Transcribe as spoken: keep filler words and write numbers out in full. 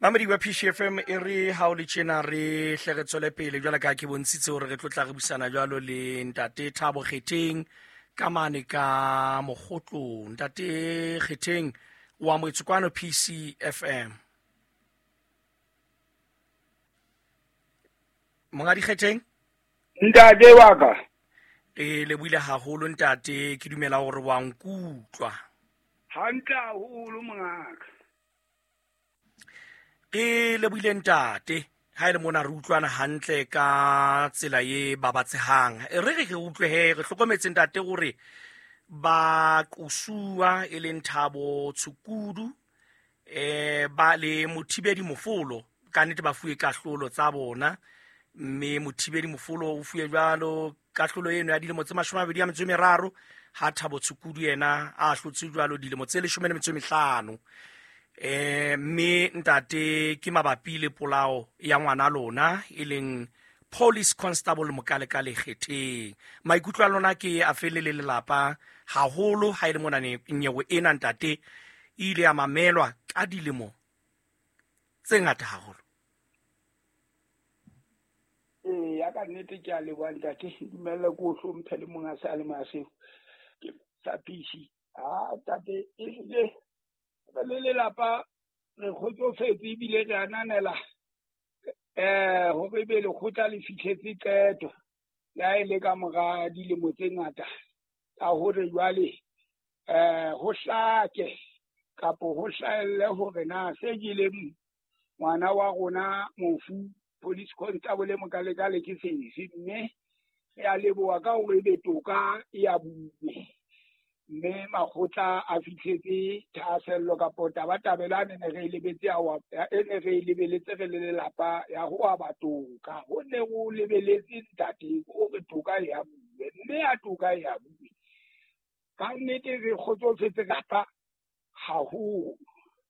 Mamedi wa P C F M e re ha o le tjena re hle re tswele pele jwalo ka ke bontshitse hore re tlo tla re busana jwalo le ntate Thabo Kgetheng ka mane ka Mokgotlong. Ntate Kgetheng wa amohetswe kwano P C F M. Monghadi Kgetheng? Ntate wa ka. E lebohile haholo ntate, ke dumela hore wa nkutlwa. Hantle haholo mongaka. Ke lebohile ntate, ha e le mona re utlwana hantle ka tsela e babatsehang. E re re re utlwe he, re hlokometse ntate hore ba qosuwa e leng Thabo Tshukudu, eh ba le Mothibedi Mofolo, ka nnete ba fuwe kahlolo tsa bona, mme Mothibedi Mofolo o fuwe jwalo kahlolo eno ya dilemo tse mashome a mabedi a metso e meraro, ha Thabo Tshukudu yena a ahlotse jwalo dilemo tse leshome le metso e mehlano. Eh mme ntate ke mabapi le polao ya ngwana lona e leng Police Constable Mokalekale Kgetheng. Maikutlo a lona ke a fele le lelapa haholo ha e le mona nyewe ena ntate e ile ya mamelwa ka dilemo tse ngata haholo. Eh ya ka nnete ke a leboha ntate, dumella ke o hlomphe le monga sa le maseo ke sa P C. Ah ntate e hlile re le lelapa re kgotsofetse ebile re ananela eh hore ebe lekgotla le fihletse qeto le ha e le ka mora dilemo tse ngata ka hore jwale eh ho hlake kapo ho hlahelle hore na se jeleng ngwana wa rona mofu Police Constable Mokalekale ke sefe, mme re a leboha ka hore ebe toka e a buwe, mme makgotla a fihletse thahasello kapo tabatabelo a ne re e lebetse ya ho e ne re e lebeletse re le lelapa ya ho aba toka. Ho ne ho lebeletse ntate hore toka e a buwe, mme ya toka e a buwe. Ka nnete re kgotsofetse kapa haholo.